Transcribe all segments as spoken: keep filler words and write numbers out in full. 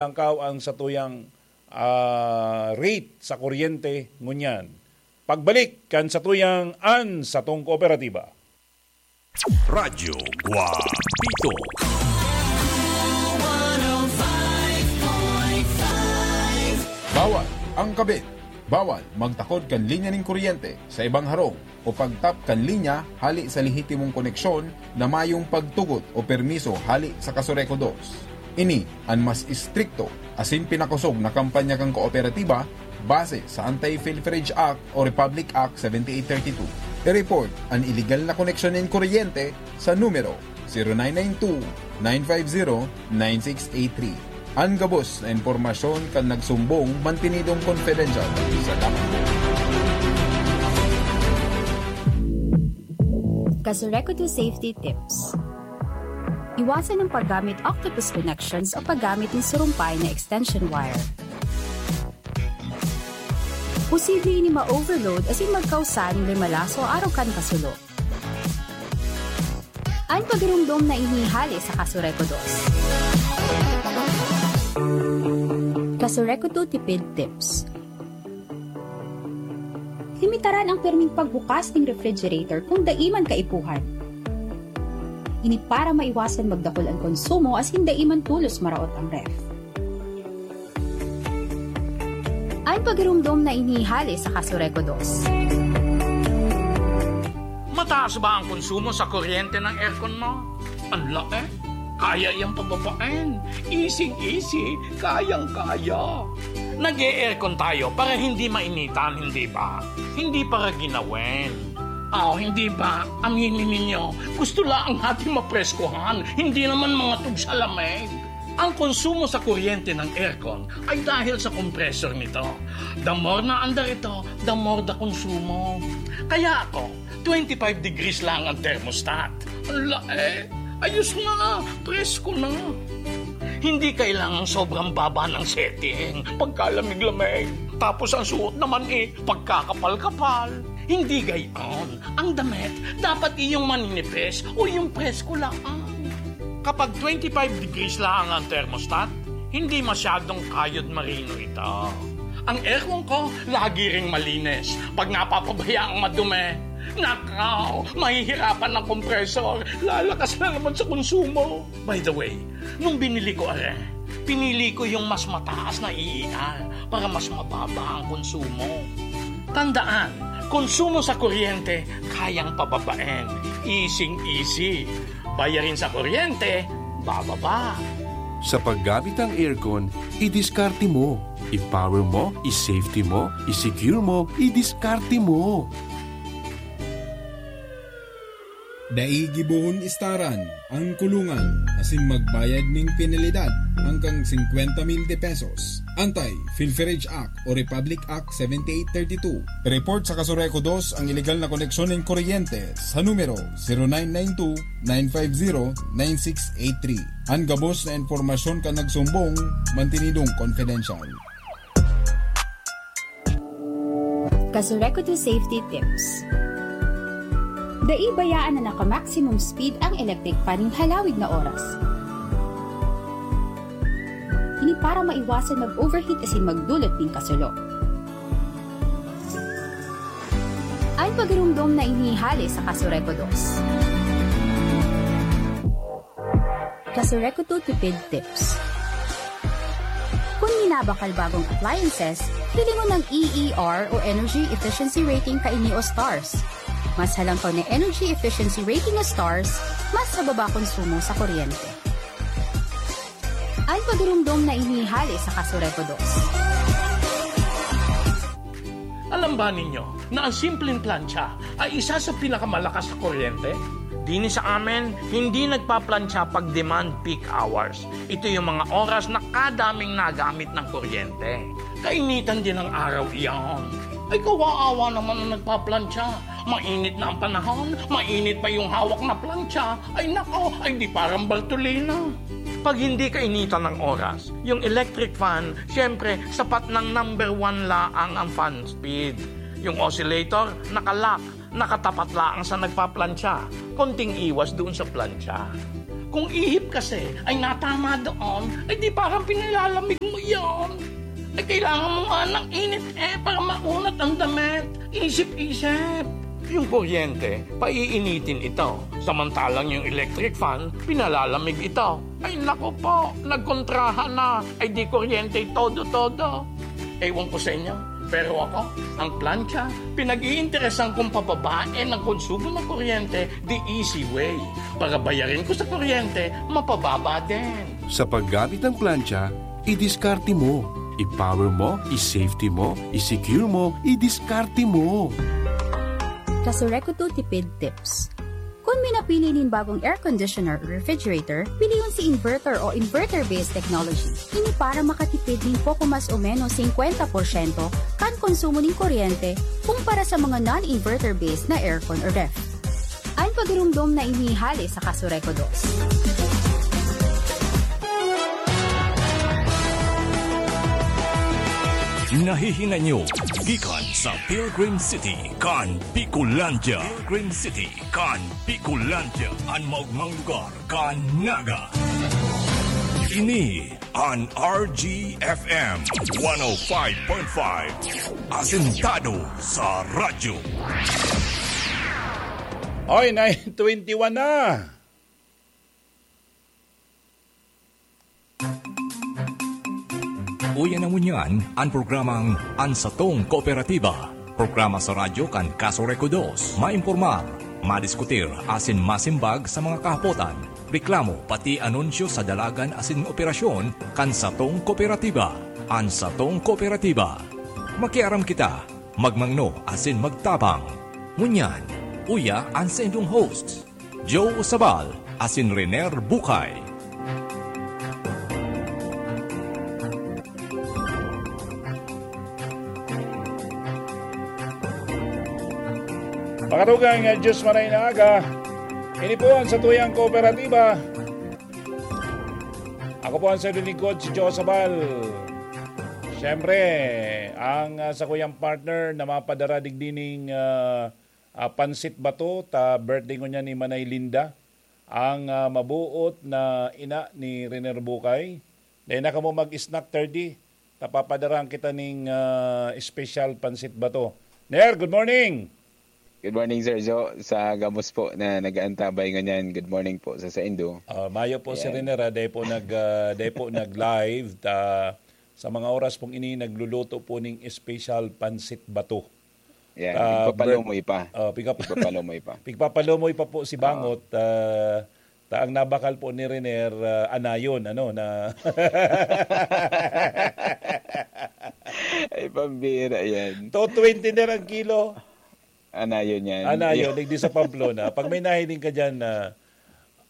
Langkaw ang satuyang, ah, rate sa kuryente ngunyan. Pagbalik kan satuyang An Satong Kooperatiba. Radyo Guapito. Bawal ang kabit. Bawal magtakod kan linya nin kuryente sa ibang harong o pagtap kan linya hali sa lehitimong koneksyon na mayong pagtugot o permiso hali sa Kasureco dos. Ini an mas estrikto asin pinakosog na kampanya kan kooperatiba base sa Anti-Pilferage Act o Republic Act seventy-eight thirty-two. I-report an iligal na koneksyon nin kuryente sa numero zero nine nine two, nine five zero, nine six eight three. An gabos na impormasyon kan nagsumbong mantinidong confidential sa dakul. Kasureco two Safety Tips. Iwasan ang paggamit octopus connections o paggamit ng surumpay na extension wire. Posible ini ma-overload asin magkausa nin limalaso arog kan kasulo. An pagiromdom na ini hale sa Kasureco dos. Kasureco two Tipid Tips. Limitaran ang pirming pagbukas ning refrigerator kun dai man kaipuhan. Ini para maiwasan magdakul an konsumo asin dai man tolos maraot ang ref. An pagiromdom na ini hale sa Kasureco dos. Mataas ba ang konsumo sa kuryente ng aircon mo? Ang laki. Kaya yang pababain. Easy-easy. Kayang-kaya. Nag-e-aircon tayo para hindi mainitan, hindi ba? Hindi para ginawin. Ah, hindi ba? Aminin ninyo, gusto lang natin mapreskuhan, hindi naman mga tugsalamig. Ang konsumo sa kuryente ng aircon ay dahil sa compressor nito. The more na andar ito, the more the konsumo. Kaya ako, twenty-five degrees lang ang thermostat. Ang lae! Ayos na! Presko na! Hindi kailangang sobrang baba ng setting. Pagkalamig-lamig. Tapos ang suot naman eh, pagkakapal-kapal. Hindi gayon. Ang damit, dapat iyong maninipis o yung presko lang. Kapag twenty-five degrees lang ang thermostat, hindi masyadong kayod marino ito. Ang aircon ko, lagi ring malinis. Pag napapabayaang madumi, nakaw, mahihirapan ang compressor. Lalakas na naman sa konsumo. By the way, nung binili ko are, pinili ko yung mas mataas na E E R para mas mababa ang konsumo. Tandaan, konsumo sa kuryente, kayang pababain. Easing-easy. Bayarin sa kuryente, bababa. Sa paggamit ng aircon, idiskarte mo. I-power mo, i-safety mo, i-secure mo, idiskarte mo. Dai gibohon istaran ang kulungan asin magbayad nin penalidad hanggang singkwenta mil de pesos. Anti-Pilferage Act o Republic Act seventy-eight thirty-two. Report sa Kasureco dos ang iligal na koneksyon nin kuryente sa numero zero nine nine two, nine five zero, nine six eight three. An gabos na impormasyon kan nagsumbong, mantinidong confidential. Kasureco two Safety Tips. Dai bayaan na naka-maximum speed ang electric fan nin halawig na oras. Ini para maiwasan mag-overheat asin magdulot nin kasulo. An pagiromdom na ini hale sa Kasureco dos. Kasureco two Tipid Tips. Kun minabakal bagong appliances, pili mo ng E E R o Energy Efficiency Rating kaini o stars. Mas halangkaw na energy efficiency rating o stars, mas mababa konsumo sa kuryente. An pagiromdom na ini hale sa Kasureco dos. Alam ba ninyo na ang simpleng plantsa ay isa sa pinakamalakas sa kuryente? Dini sa amin, hindi nagpaplantsa pag demand peak hours. Ito yung mga oras na kadaming nagamit ng kuryente. Kainitan din ang araw iyan. Ay, kawaawa naman ang nagpaplantsa. Mainit na ang panahon, mainit pa yung hawak na plantsa. Ay nako, ay di parang Bartolina. Pag hindi kainitan ng oras, yung electric fan, siyempre, sapat ng number one laang ang fan speed. Yung oscillator, nakalock, nakatapat laang sa nagpaplantsa. Konting iwas doon sa plantsa. Kung ihip kasi ay natama doon, ay di parang pinalalamig mo yon. Ay kailangan mo nga ng init eh para maunat ang damit. Isip-isip. Yung kuryente, paiinitin ito. Samantalang yung electric fan, pinalalamig ito. Ay naku po, nagkontrahan na. Ay di kuryente todo-todo. Ewan ko sa inyo, pero ako, ang plancha, pinag-iinteresan kong pababae ng konsumo ng kuryente the easy way. Para bayarin ko sa kuryente, mapababa din. Sa paggamit ng plancha, idiskarte mo. I-power mo, i-safety mo, i-secure mo, idiskarte mo. Kasurekodo Tipid Tips. Kun minapili nin bagong air conditioner o refrigerator, pilion si inverter o inverter-based technology. Ini para makatipid nin poko mas o menos singkwenta porsyento kan konsumo nin kuryente kumpara sa mga non-inverter-based na aircon o ref. An pagirumdom na ini hale sa Kasurekodo. Nahihinay nyo gikan sa Pilgrim City kan Bicolandia. Pilgrim City kan Bicolandia, an maogmang lugar kan Naga. Ini an R G F M one oh five point five, asentado sa radyo. Oy, nine twenty-one na. Uya na ngunyan an programang An Satong Kooperatiba, programa sa radyo kan Kasurekodo. Maimpormar, madiskutir asin masimbag sa mga kahapotan, reklamo, pati anunsyo sa dalagan asin operasyon kan satong kooperatiba. An Satong Kooperatiba. Makiaram kita, magmangno asin magtabang. Ngunyan, uya an saindong host, Joe Sabal asin Rener Bukay. Mga tugang, ah, Diyos maray na aga. Ini po ang satuyang kooperatiba. Ako po ang sayo lingkod, si Joe Sabal. Siyempre, ang, ah, sakuyang partner na mapadara digdi ning, ah, ah, pansit bato, ta birthday ngunyan ni Manay Linda, ang, ah, mabuot na ina ni Riner Bukay. Dai na kamo mag-snack thirty, ta papadarahan kita ning, ah, special pansit bato. Ner, good morning! Good morning, Sir Joe. Sa gabos po na nag-aantabay ngunyan, good morning po sa saindo. Ah, mayo po si Ayan. Riner, ah, dai po nag, ah, dai po nag-live. Ta, sa mga oras pong ini, nagluluto po ning special pansit bato. Yan, Ah, pigpapalumoy pa. Oh, pigpap- Pigpapalumoy pa. Pigpapalumoy pa po si Oo. Bangot. Ah, ta ang nabakal po ni Riner, ah, anayon, ano, na Ay, pambira yan. Two twenty na ang kilo. Anayon yan. Anayon, digdi sa Pamplona. Pag may nahiling ka dyan na,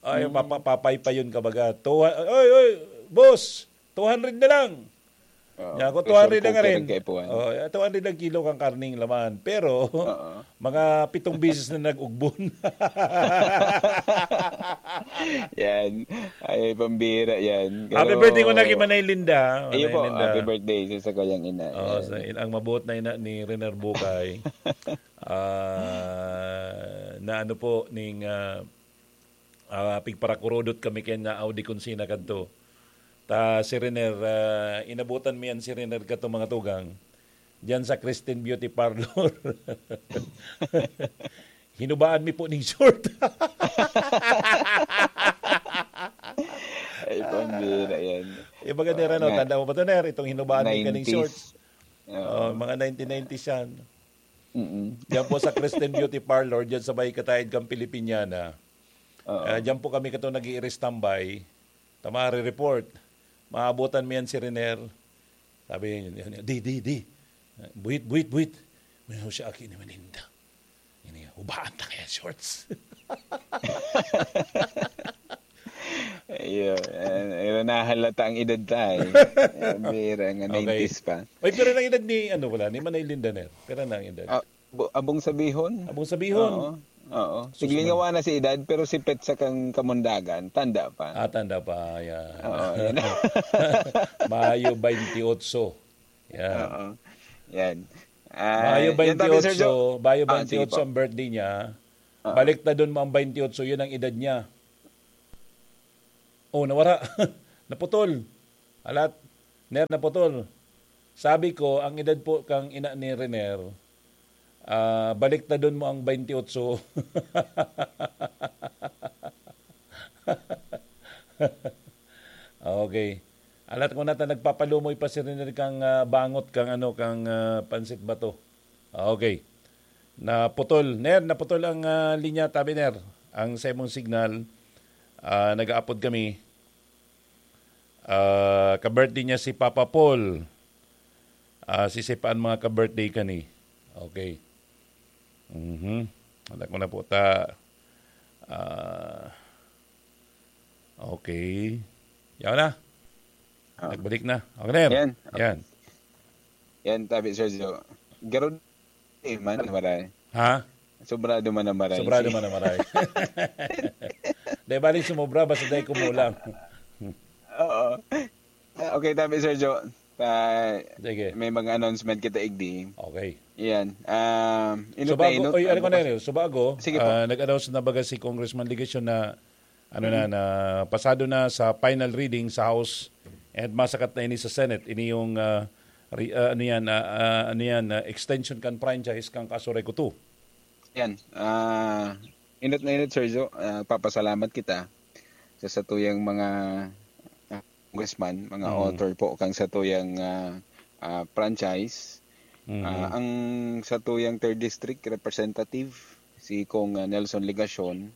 ay, Mm. papa-, papaypayon ka baga. Two, oy, oy, boss, two hundred na lang. Oo. Nya, kung Pressure two hundred lang cooker rin. Ang kaipuhan. Oh, two hundred lang kilo kang karning laman. Pero, Oo. mga pitong bisis na nag-ugbon. Yan. Ay, pambira yan. Happy Pero birthday ko na kay Manay Linda. Ayun Manay po, Linda. Happy birthday sa sakuyang ina. Oh, Yan. sa in-, ang mabuot na ina ni Rener Bukay. Ah, na ano po, ning, ah, ah, pigparakurudot kami kaya na Audi Consina kadto. Ta si Riner, ah, inabutan mi yan si Riner kato, mga tugang, diyan sa Christian Beauty Parlor. Hinubaan mi po ning short. Ay, pambira yan. Yung mga Nera, no, Nga. tanda mo ba to, Ner? Itong hinubaan mi kaning nineties. Short. Oo. Oh, mga nineteen nineties yan. Mm-mm. Diyan po sa Christian Beauty Parlor, diyan sa may kataid kang Filipiniana. Oo. Ah, diyan po kami kato nag-i-standby. Ta mare-report. Maabutan mi yan si Riner. Sabi niya, "Di, di, di. Buhit, buhit, buhit. May siya aki ni Melinda. Ini, hubaan ta kaya shorts." Ayun. Eh, nahalata ang edad ta, eh. Eh, bira nga, Okay. nineties pa. Oy, pero nang edad ni, ano, wala, ni Manay Linda na yun. Pero nang edad. Ah, bu-, abong sabihon. Abong sabihon. Oo. Oo. Sus, Tiglingawa na si edad, pero si Petsa kang Kamundagan, tanda pa. Ah, tanda pa, yeah. Oo, yun. Mayo twenty-eight. Yeah. Oo. Yan. Ah, Mayo yan, Tatay Sergio. twenty-eight, Mayo Ah, sige twenty-eight po. ang birthday niya. Oo. Baliktadon mo ang twenty-eight, yun ang edad niya. Oh, nawara. Naputol. Alat, Ner, naputol. Sabi ko, ang edad po kang ina ni Rener, ah, baliktadon mo ang twenty-eight. Okay. Alat ko na ta nagpapalumoy pa si Rener kang, ah, bangot kang ano, kang, ah, pansit bato. Okay. Naputol. Ner, naputol ang, ah, linya, tabi, Ner. Ang sa imong signal, ah, nag-aapod kami. Ah, ka-birthday niya si Papa Paul. Ah, si Sip ang mga ka-birthday kani. Okay. Mhm. Alam ko na po ta. Ah, okay. Yaw na. Ah. Nagbalik na. Okay na yan. Yan. Yan. Yan, tabi, Sergio. Garod eh, man, maray. Ha? Sobrado man ang maray. Sobrado Si- man ang maray. Dahil balik sumobra, basta dahil kumulang. Oo. Ah, okay, tabi, Sergio. Ah, Sige. May mga announcement kita igdi. Okay. Yan. Um, inot Subago, na inot. oy, ano ko na Bukas- yun? Subago, Sige po. ah, nag-announce na baga si Congressman Legacion na ano na, na pasado na sa final reading sa House and masakat na ini sa Senate. Ini yung ah, re- ah, ano yan, ah, ah, ano yan, ah, extension kan franchise kan Casureco two. Yan. Ah, inot na inot, Sergio. Ah, papasalamat kita sa satuyang mga ah, congressman, mga Mm. author po kang satuyang ah, ah, franchise. Mhm. Ah, ang satuyang third district representative, si Cong ah, Nelson Legacion,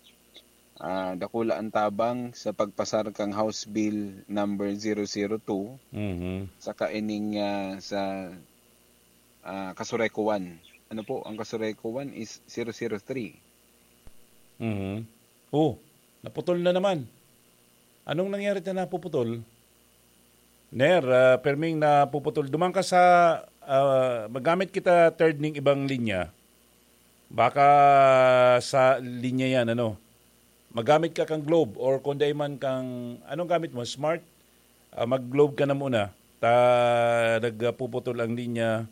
ah, dakula ang tabang sa pagpasar kang House Bill number zero zero two, Mhm. saka ining ah, sa ah, Casureco one. Ano po, ang Casureco one is zero zero three. Mhm. Oh, naputol na naman. Anong nangyari na napuputol? Ner, ah, perming napuputol. Duman ka sa, ah, magamit kita third ning ibang linya. Baka sa linya yan, ano? Magamit ka kang Globe or kung dai man kang, anong gamit mo? Smart? Ah, mag-Globe ka na muna. Ta, nagpuputol ang linya.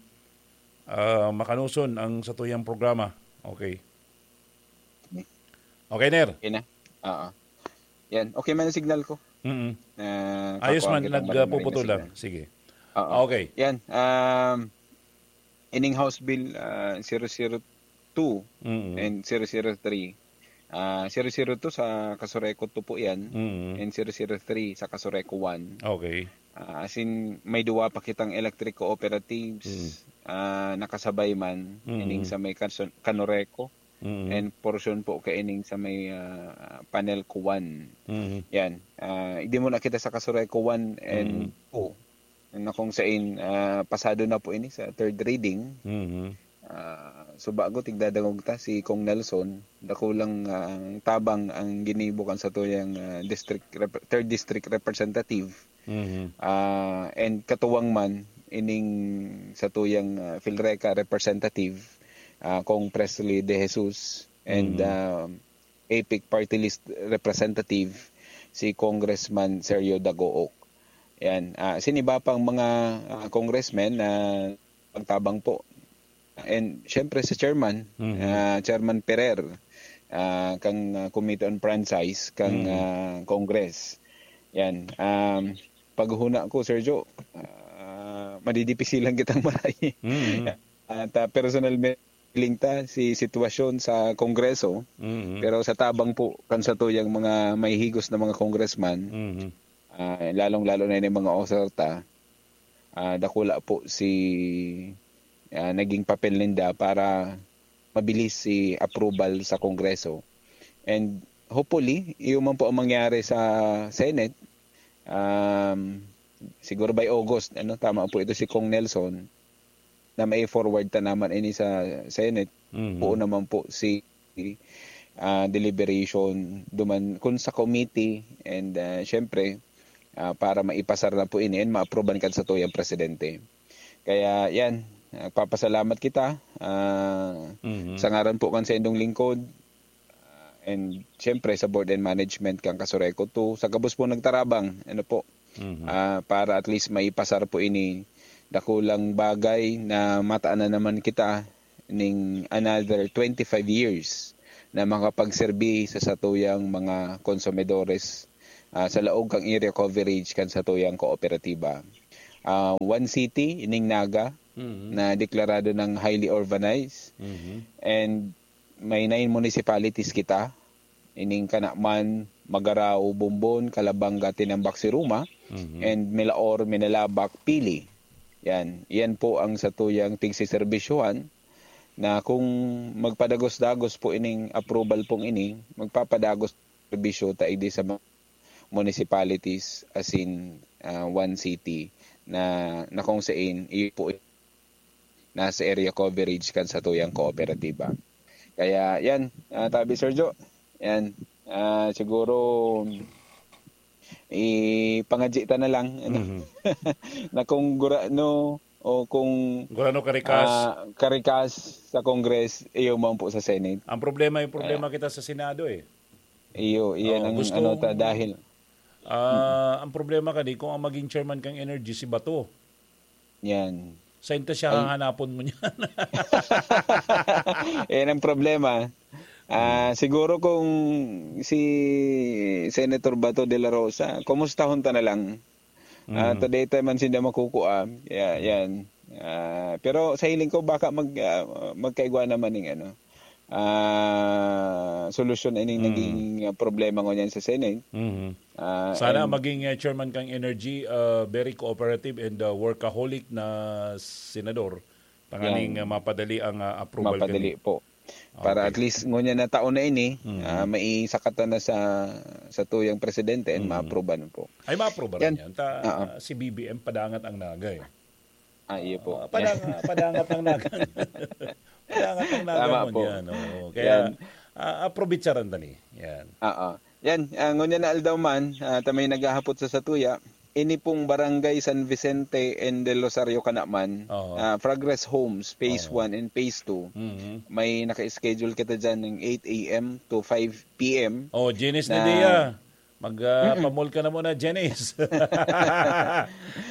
Ah, makanuson ang satuyang programa. Okay. Okay, Ner. Okay na? Oo. Yan. Okay man ang signal ko. Mm-mm. Ah, Ayos kakuha man, kitang nagpuputol maramihan na lang. signal. Sige. Oo. Okay. Yan. Um, ining House Bill ah, zero zero two Mm-mm. and zero zero three. Ah, zero zero two sa Casureco two po yan. Mm-mm. And zero zero three sa Casureco one. Okay. Ah, as in, may duwa pa kitang electric cooperatives Mm. ah, nakasabay man, Mm. ining sa may Kanso- Canoreco, Mm-mm. and portion po kaining sa may ah, Panelco one. Mm-mm. Yan. Ah, igdi muna kita sa Casureco one and Mm. two. Na kung sain, ah, pasado na po ini sa third reading. Mm-mm. Ah, so bago tigdadangog ta si Cong Nelson, dakulang ah, ang tabang ang ginibo kan satuyang ah, district rep- third district representative. Mm-hmm. Ah, and katuwang man ining satuyang ah, Filreca representative, ah, Cong Presley De Jesus, and Mhm. ah, APEC party list representative, si Congressman Sergio Dagook. Yan. Ah, sin iba pang mga ah, congressmen na pagtabang po. And syempre si chairman, Mhm. ah, Chairman Perer, ah, kang ah, Committee on Franchise, kang Mhm. ah, Congress. Yan. Um, paghuna ko, Sergio, ah, madidipisilan kitang maray. Mhm. At ah, personal feeling ta si sitwasyon sa Kongreso, Mhm. pero sa tabang po kan satuyang mga may higos na mga congressman, Mhm. ah, lalong-lalo na yung mga author ta, ah, dakula po si ah, naging papel ninda para mabilis si approval sa Kongreso. And hopefully, iyo man po ang mangyari sa Senate. Um, siguro by August, ano, tama po ito si Cong Nelson, na may forward ta naman ini sa Senate. Mhm. Buo naman po si ah, deliberation duman kun sa committee, and ah, syempre ah, para maipasar na po ini and maaproban kan satuyang presidente. Kaya yan, nagpapasalamat kita ah, Mhm. sa ngaran po kan saindong lingkod, ah, and syempre sa board and management kan Kasureco two, sa gabos po nagtarabang, ano po, Mhm. ah, para at least maipasar po ini. Dakulang bagay na mataan na naman kita ning another twenty-five years na makapagserbi sa satuyang mga konsumidores ah, sa laog kang area coverage kan satuyang kooperatiba. Ah, one city, ining Naga, Mhm. na deklarado ng highly urbanized. Mhm. And may nine municipalities kita. Ining Canaman, Magarao, Bombon, Calabanga, Tinambac, Siruma, Mhm. and Milaor, Minalabac, Pili. Yan. Yan po ang satuyang tigsiserbisyuhan na kung magpadagos-dagos po ining approval pong ini, magpapadagos serbisyo ta idi sa mga municipalities, as in, ah, one city na, na kung sain, iyo po nasa area coverage kan satuyang kooperatiba. Kaya yan, ah, tabi Sergio, yan, ah, siguro ipangadji ta na lang, ano, Mhm. na kung gurano o kung Gurano karikas. ah, karikas sa Congress, iyo man po sa Senate. Ang problema, yung problema kita sa Senado eh. Iyo, iyan Oo, ang gusto ano ta kong- dahil Ah, ang problema kani kung ang maging chairman kang Energy si Bato. Yan. Sa inta siya Ay. Hahanapon mo niyan. Yan ang problema. Ah, siguro kung si Senator Bato de la Rosa, kumustahon ta na lang. Ah, Mhm. today tayo man sinda makukua. Yeah, yan. Ah, pero sa hiling ko baka mag ah, magkaigwa naman ning ano. Ah, solusyon ining Mhm. naging ah, problema ngunyan sa Senate. Mhm. Ah, Sana and maging uh, chairman kang Energy, uh, very cooperative and uh, workaholic na senador. Tanganing Yan. uh, mapadali ang uh, approval Mapadali kani. po. Para Okay. at least ngunyan na taon na ini, Mhm. ah, maisakatan na sa sa tuyang presidente and Mhm. ma-approvean po. Ay, ma-approve Yan. yan. Ta, Oo. Si B B M, padangat ang naga eh. Ah, iyo po. Ah, padang, padangat ang naga. Padangat ang naga Tama mo po. Yan. Oo. Kaya, Yan. ah, aprobitsaran ta ni. Yan. Oo. Yan, ah, ngunyan na aldaw man, ah, ta may naghahapot sa satuya, ini pong Barangay San Vicente and Del Rosario Canaman, Oo. ah, Progress Homes, Phase Oo. one and Phase two, Mhm. may naka-schedule kita dyan ng eight a.m. to five p.m. Oh, Janice Na- Nadia. Mag ah, pamol ka na muna, Janice.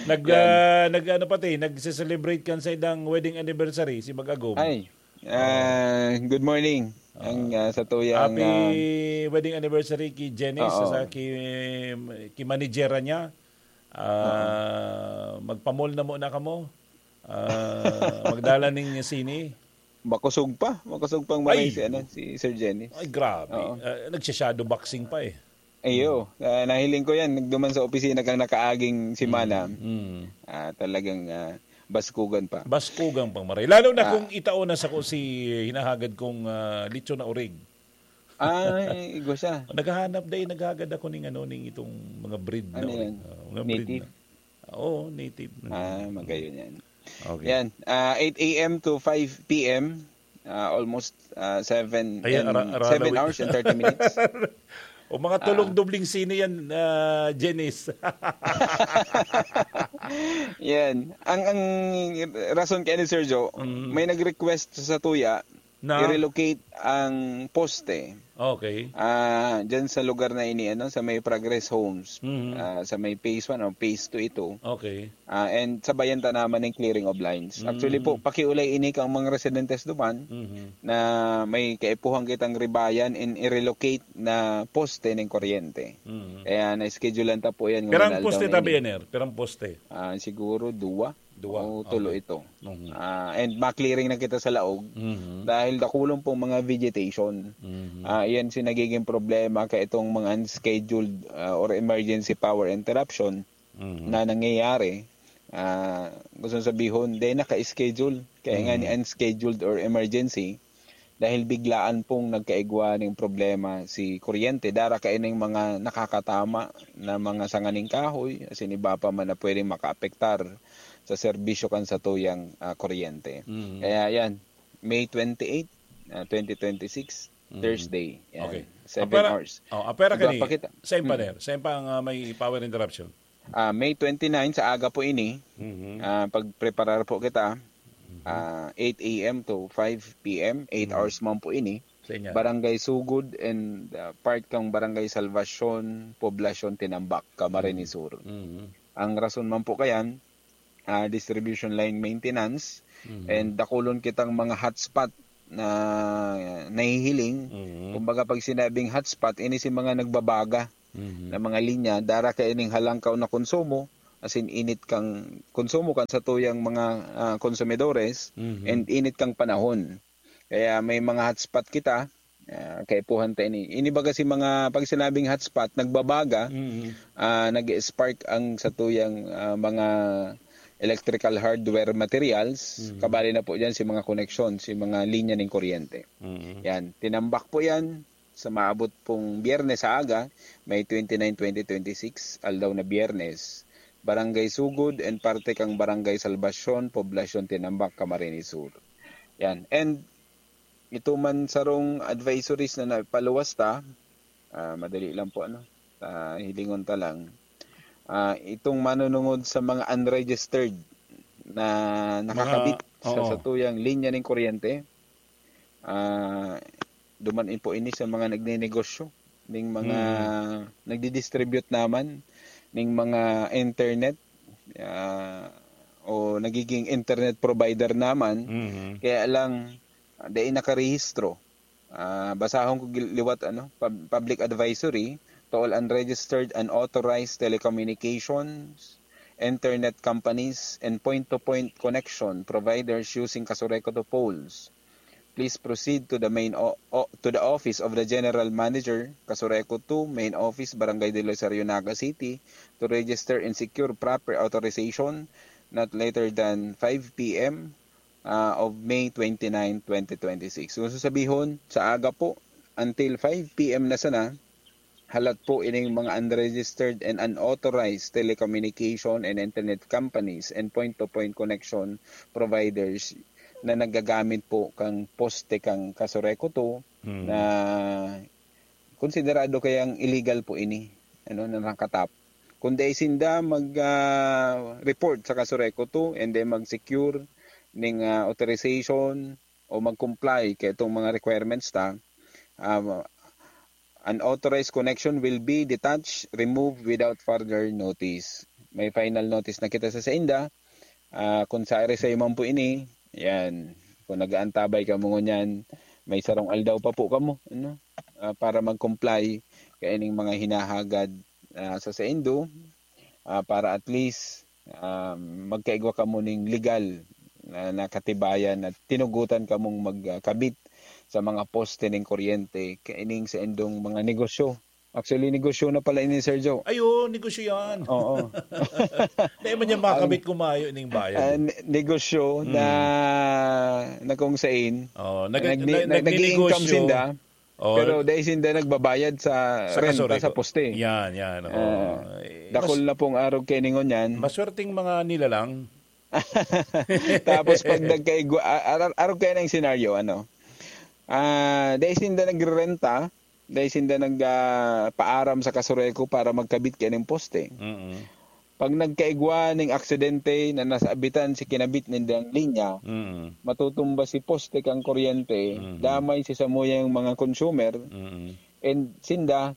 nag Yan. ah, nag ano pati, nagse-celebrate kan sa idang wedding anniversary si Mag-agom. Ay, ah, good morning. Ang ah, sa tuyang Happy ah, wedding anniversary kay Janice Oo. sa ki, ki managera niya. Ah, magpamol na muna kamo. Ah, magdala ning sini. Makusog pa, makusog pang Ay! maray si, ano, si Sir Jenny. Ay, grabe. Oo. Ah, nagsha-shadow boxing pa eh. Ayo, ah, nahiling ko yan, nagduman sa opisina kang nakaaging semana. Mm. Ah, talagang ah, baskugan pa. Baskugang pang maray. Lalo na Ah. kung itao na sa ko si hinahagad kong ah, lechon na orig. Ay, igwa siya. Naghahanap dahil naghagad ako ning ano, ning itong mga breed na Ano orig. yan? Ah, mga breed Native? Na. Oo, native. Ah, magayon yan. Okay. Yan, ah, eight a.m. to five p.m. ah, almost ah, seven Ay, and ara- ara- seven arawit. hours and thirty minutes. O mga tulong dobling sini yan, ah, Janice. Yan. Ang ang rason kaya ni Sergio, Mm. may nag-request sa tuya Na? i-relocate ang poste. Okay. Ah, diyan sa lugar na ini, ano, sa may Progress Homes, Mhm. ah, sa may phase one o phase two ito. Okay. Ah, and sabayan ta naman ng clearing of lines. Mm. Actually po, pakiulay ini kang mga residentes duman Mhm. na may kaipuhan kitang ribayan and i-relocate na poste ng kuryente. Mhm. Kaya na-schedulean ta po yan Perang ngayong poste aldaw na tabi ini. Ener? Perang poste? Ah, siguro duwa. Duwa. O tulo Okay. ito. Mhm. Ah, and ma-clearing na kita sa laog Mhm. dahil dakulon pong mga vegetation. Mhm. Ah, iyan si nagiging problema kay itong mga unscheduled ah, or emergency power interruption Mhm. na nangyayari. Ah, gusto sabihon, di naka-schedule. Kaya nga ni Mhm. unscheduled or emergency, dahil biglaan pong nagkaigwa ng problema si kuryente, dara kaining mga nakakatama na mga sanganing kahoy, asin iba pa man na pwedeng makaapektar sa serbisyo kan satuyang ah, kuryente. Mhm. Kaya yan, May twenty-eight, ah, twenty twenty-six, Mhm. Thursday. Yan, Okay. seven Apera- hours. Oh, apera Diba, kani? pakita. Sa Mm. impaner, sa impang ah, may power interruption. Ah, May twenty-nine sa aga po ini, Mhm. ah, pagpreparar po kita, ah, eight a.m. to five p.m., eight Mhm. hours man po ini. Sa inyo. Barangay Sugod and ah, part kang Barangay Salvacion, Poblacion, Tinambac, Camarines Mhm. Sur. Mhm. Ang rason man po kayan, ah, distribution line maintenance, Mhm. and dakulon kitang mga hotspot na nahihiling. Mhm. Kumbaga, pag sinabing hotspot, ini si mga nagbabaga. Mhm. na mga linya, dara kaining halangkaw na konsumo, as in init kang konsumo kan satuyang mga, ah, konsumidores, Mhm. and init kang panahon. Kaya may mga hotspot kita, ah, kaipuhan ta ini. Ini baga si mga, pag sinabing hotspot, nagbabaga, Mhm. ah, nag-spark ang satuyang, ah, mga electrical hardware materials, Mhm. kabali na po diyan si mga koneksyon, si mga linya ning kuryente. Mhm. Yan, tinambak po yan sa maabot pong Biyernes sa aga, May twenty-nine, twenty twenty-six, aldaw na Biyernes, Barangay Sugod and parte kang Barangay Salvacion, Poblacion Tinambac, Camarines Sur. Yan. And ito man sarong advisories na napaluwas ta, ah, madali lang po, ano, ah, hilingon ta lang. Ah, itong manunungod sa mga unregistered na Mga nakakabit sa oo. satuyang linya ning kuryente, ah, duman po ini sa mga nagnenegosyo, ning mga Mm. nagdi-distribute naman ning mga internet, ah, o nagiging internet provider naman. Mhm. Kaya lang, ah, dai nakarehistro. Ah, basahon ko gil-, liwat, ano, pub-, public advisory to all unregistered, unauthorized telecommunications, internet companies, and point-to-point connection providers using Casureco two poles. Please proceed to the main o-, o-, to the office of the General Manager, Casureco two, Main Office, Barangay del Rosario, Naga City, to register and secure proper authorization not later than five p m, ah, of May twenty-nine, twenty twenty-six. So, sa sabihon, sa aga po, until five p m na sana, halat po ining mga unregistered and unauthorized telecommunication and internet companies and point-to-point connection providers na nagagamit po kang poste kang Casureco two Mm. na konsiderado kayang illegal po ini, ano, na nakatap. Kung dai sinda mag, ah, report sa Casureco two and then mag-secure ning, ah, authorization o mag-comply kay itong mga requirements ta, ah, unauthorized connection will be detached, removed without further notice. May final notice na kita sa sainda. Ah, kung sa ari sa'yo man po ini, yan. Kung nag-aantabay kamo ngunyan, may sarong aldaw pa po kamo, ano? Ah, para mag-comply kaining mga hinahagad, ah, sa saindo, ah, para at least, ah, magkaigwa kamo ning legal na, na katibayan na tinugutan kamong magkabit sa mga poste ning kuryente kaining saindong mga negosyo. Actually, negosyo na pala ini, Sir Joe. Ay, oo, negosyo yan. Oo. Dahil man yan Ang makabit ko mayo ning bayan. Ah, ne-, negosyo Mm. na, na kung sain, Oo, nag-, nagni-, nag-, nag-, nag-i-income nagnenegosyo. sinda, Oo. pero dahil sinda nagbabayad sa Sa renta Casureco. sa poste. Yan, yan, oo. Ah, Eh, dakul mas-, na pong arog kaining ngunyan. Maswerteng mga nilalang. Tapos pag nagkaigwa, a-, a-, arog kayo ng senaryo, ano? Ah, dahil sinda nagrerenta, dahil sinda nag, ah, paaram sa Casureco para magkabit kaining poste. Mm. Pag nagkaigwa ning aksidente na nasabitan si kinabit nindang linya, Mm. matutumba si poste kang kuryente, Mm. damay si samuyang mga consumer, Mm. and sinda,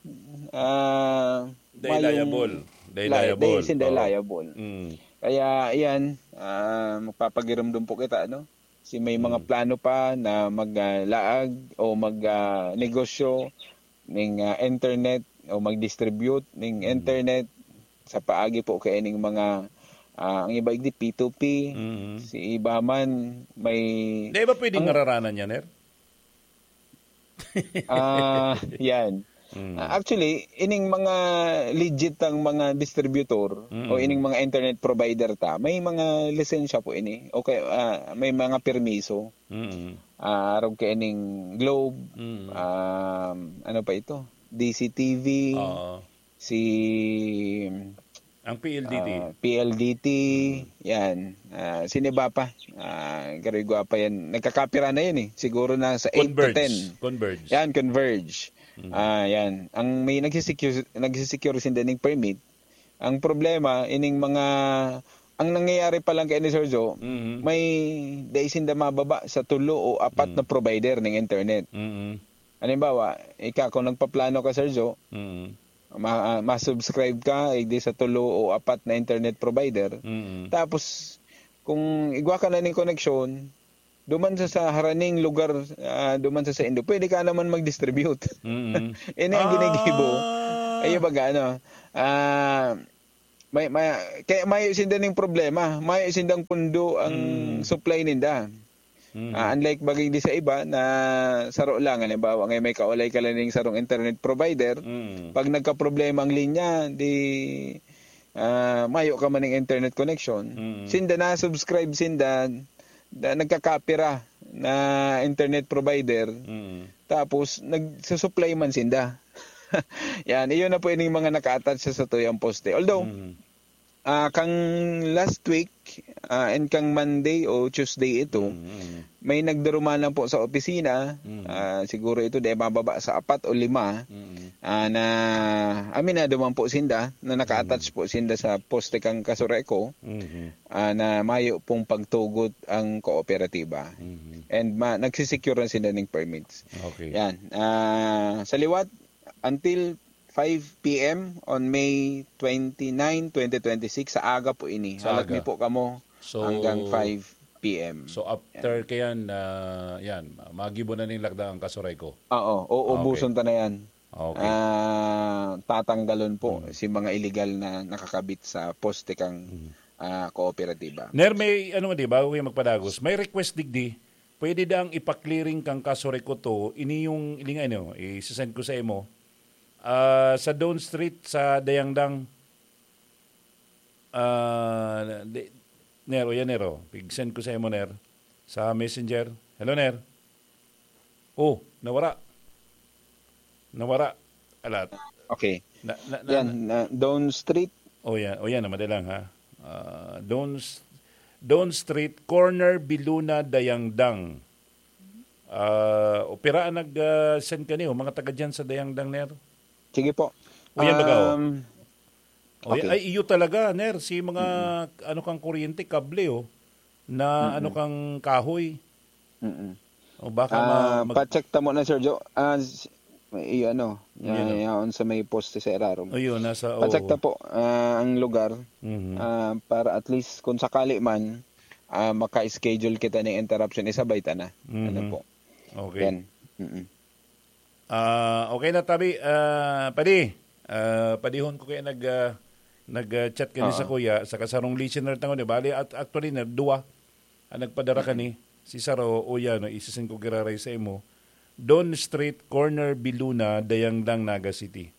ah, They mayong liable. They li-, liable. they, sinda Oo. liable. Mm. Kaya, ayan, ah, magpapagirumdum po kita, no? Si may mga Mm. plano pa na mag, ah, laag o mag, ah, negosyo ning, ah, internet o mag-distribute ning Mm. internet sa paagi po kaining mga, ah, ang iba igdi P two P, Mm. si iba man may Di ba pwedeng ang mararanan yan, Ner? Ah, yan. Mm. Ah, actually, ining mga legit ang mga distributor Mm. o ining mga internet provider ta, may mga lisensya po ini. O kaya, ah, may mga permiso. Mm. Ah, arog kaining Globe, Mm. um, ano pa ito? D C T V, Oo. si Ang P L D T. ah, P L D T, Mm. yan. Ah, sino ba pa? Ah, karoy gwapa yan. Nagkakapira na yan eh. Siguro na sa eight to Converge. ten. Converge. Yan, Converge. Mm. Ah, yan. Ang may nagsisecure, nagsisecure sinda ning permit. Ang problema, ining mga, ang nangyayari pa lang kay ni Sir Joe, Mhm. may dai sinda mababa sa tulo o apat Mm. na provider ng internet. Mm. Halimbawa, ika, kung nagpaplano ka, Sir Joe, Mm. ma-, ah, ma-subscribe ka, eh, di sa tulo o apat na internet provider. Mm. Tapos, kung igwa ka na ning koneksyon, duman sa, sa haraning lugar, ah, duman sa saindo, pwede ka naman mag-distribute. Mm. Ini ang ginigibo. Ah. Ayo baga, ano, ah, may, may, kaya mayo sinda ning problema, mayo sindang pundo ang Mm. supply ninda. Mm. Ah, unlike bagay di sa iba na saro lang, halimbawa, ngayon may kaulay ka lang ning sarong internet provider, Mm. pag nagkaproblema ang linya, di, ah, mayo ka man ning internet connection. Mm. Sinda na, subscribe sinda, na, nagkakapira na internet provider, Mm. tapos nagsusupply man sinda. Yan, iyon na po yung mga naka-attach sa satuyang poste. Although, Mm. ah, kang last week, ah, and kang Monday o Tuesday ito, Mm, mm. may nagdarumanan po sa opisina, Mm. ah, siguro ito di mababa sa apat o lima, Mm. ah, na aminado man po sinda na naka-attach Mm. po sinda sa poste kang Casureco, Mhm. ah, na mayo pong pagtugot ang kooperatiba. Mhm. And ma-, nagsisecure na sila ng permits. Okay. Yan. Ah, sa liwat, until five P M on May twenty-nine, twenty twenty-six, sa aga po ini. Sa Halat aga. mi po kamo So, hanggang five P M. So, after Yan. kayan, ah, yan, magibo na ning lakda ang Casureco. Oo, uubuson Okay. ta na yan. Okay. Ah, tatanggalon po Mm. si mga illegal na nakakabit sa poste kang, Mm. ah, kooperatiba. Ner, may ano nga di, bago kayo magpadagos, may request digdi, pwede daang ipa-clearing kang Casureco to, ini yung, ini nga, ano, i-send ko sa imo. Ah, sa Dawn Street, sa Dayangdang, ah, di, Ner, o yan, Ner, o. Pig-send ko sa imo, Ner, sa Messenger. Hello, Ner. Oh, nawara. Nawara. Alat. Okay. Na, na, na, Yan, na, na, Dawn Street. Oh, yan. Oh, yan, madalang, ha. Ah, Dawn S-, Dawn Street, corner Biluna, Dayangdang. Ah, opera ang nag, ah, send kaniyo, mga taga dyan sa Dayangdang, Ner? Sige po. O, yan baga, oh. Um, O, okay. Ay, iyo talaga, Ner, si mga, Mm-mm. ano kang kuryente, kable, oh, na Mm-mm. ano kang kahoy. Mm-mm. O, baka Ah, ma-, mag- pa-check ta muna, Sir Joe. Ah, s-, may, ano, Yun, ya-, oh. yaon sa may poste sa irarom. O, yun, nasa, Pa-check oo. ta po, ah, ang lugar, Mhm. ah, para at least kung sakali man, ah, maka-schedule kita ng interruption, isabay ta na. Ano Mhm. po? Okay. Yan. Mm-mm. Ah, okay na, tabi. Ah, padi, ah, padihon ko kaya nag, ah, nag, ah, chat kani sa Oo. kuya, sa kasarong listener tango ni. Bali, at, actually, na, duwa ang nagpadara Mm. kani. Si Saro, o yan, no, isisend ko giraray sa imo. Dawn Street, corner Biluna, Dayangdang, Naga City.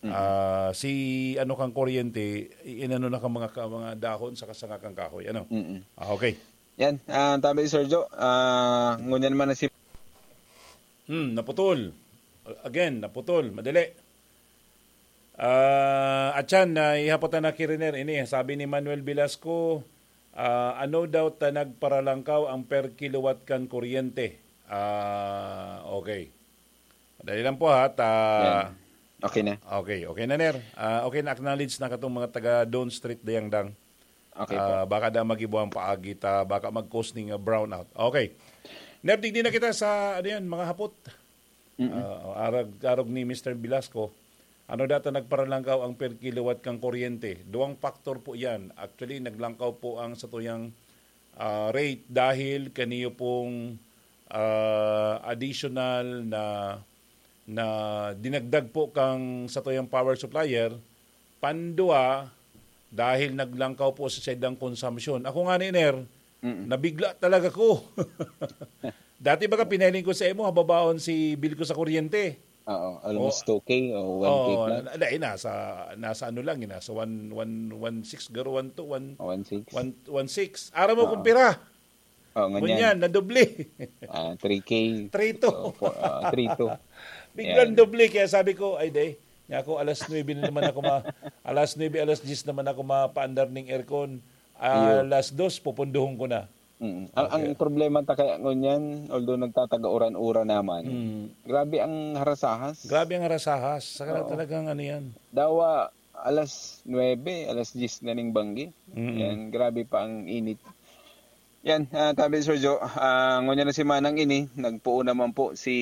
Mm. Ah, si ano kang kuryente, i-, inano na kang mga ka-, mga dahon sa kasanga kang kahoy. Ano? Mm. Ah, okay. Yan, ah, tabi, Sir Joe, ah, ngunyan man na si Hmm, naputol. Again, naputol. Madali. Ah, atyan, na ihapot na ki Riner. Ini, sabi ni Manuel Velasco, ah, ano daw ta nagparalangkaw ang per kilowatt kan kuryente? Ah, okay. Madali lang po, ha. Ta- Yan. Okay na. Okay, okay na, Ner. Ah, okay na, acknowledge na katong mga taga Dawn Street, Dayangdang. Okay po. Ah, baka da magibo ang paagi ta, baka mag-cause ning, ah, brownout. Okay. Ner, digdi na kita sa, ano yan, mga hapot. Mm-mm. Ah, arag, arog ni Mister Velasco, ano daw ta nagparalangkaw ang per kilowatt kang kuryente? Duwang factor po yan. Actually, naglangkaw po ang satuyang, ah, rate dahil kaniyo pong, ah, additional na, na dinagdag po kang satuyang power supplier, pandua, dahil naglangkaw po sa saindang konsumpsyon. Ako nga ni Ner, Mm. nabigla talaga ko. Dati baga pinahiling ko sa imo, hababaon si bill ko sa kuryente. Oo, almost Oh. two K o one K Oh, plus. na, na, eh, nasa, nasa ano lang, eh, nasa one, one, one six, garo one two, one, One six. one, one six. Aram mo Oo. kung pira? Oh, ngunyan. Ngunyan, nadoble. Ah, three K. Three two. So, four, ah, three two. Biglang Yan. doble, kaya sabi ko, "Ay, day, nga ako, alas nuebe na naman ako ma-, alas nuebe, alas diyes naman ako mapaandar ning aircon. Ah, Iyo. alas dos, pupunduhon ko na." Mm. Ang, ang Okay. problema ta kaya ngunyan, although nagtataga uran-uran naman, Mm. grabe ang harasahas. Grabe ang harasahas. Saka Oo. talagang ano yan. Dawa, alas nuebe, alas diyes na ning banggi. Mm. Yan, grabe pa ang init. Yan, ah, tabi, Sir Joe, ah, ngunyan na si Manang ini, nagpoon naman po si